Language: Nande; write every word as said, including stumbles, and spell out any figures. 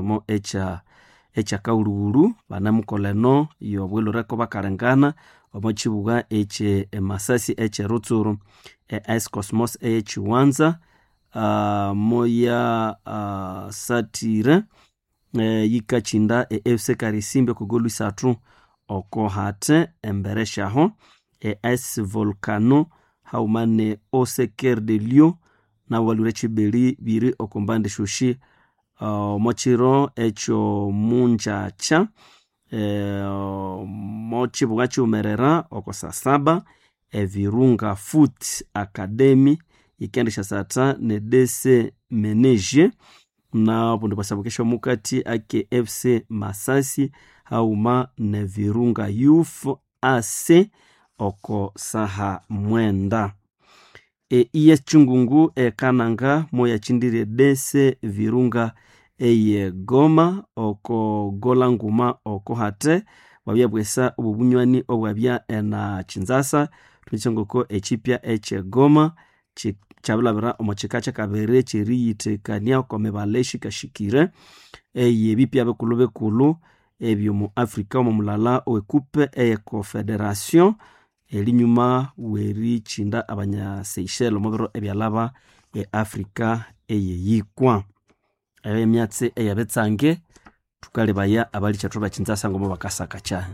kisomo ekya ekyakaghulhughulhu banamukolha eno yobwilhireko bakalengana omo kibuga ekye emasasi ekyerutsuru. E A S Cosmos eyekiwanza uh, moya uh, satire eh, yikakinda e F C Karisimbi oko golu isathu oko hate embere syaho. E A S Volcano haghuma ne Oseker de Lion nabo balhwire kibiri biri oko mbandi syosi omo kiro ekyo mungyakya eh, omo kibuga kighumerera oko saa saba Evirunga Foot Academy yikendisyasatha ne D C Menege nabundi bwasabukesya omukati ake F C Masasi haghuma ne Virunga Youth A C oko saha mwenda. E E S Kyungungu ekananga moyakyindire D C Virunga eye Goma oko gola nguma oko hate bwabyabwesa obubunywani obwabya ena Kinzasa thumikyengoko ekyipya ekye Goma kyabilhabira omo kika kyakabiri kyeriyithekania oko mibala eyikashikire eyebipya bikulhu bikulhu ebyomu Africa omo mulala owekupe eye Confederation erinyuma werikyinda abanya Seychelles omo biro ebyalhaba e Africa eyeyikwa. Eyo yemyatsi eyebitsange thukalebaya abalikyethu bekinzasa ngomo bakasaka kyahi.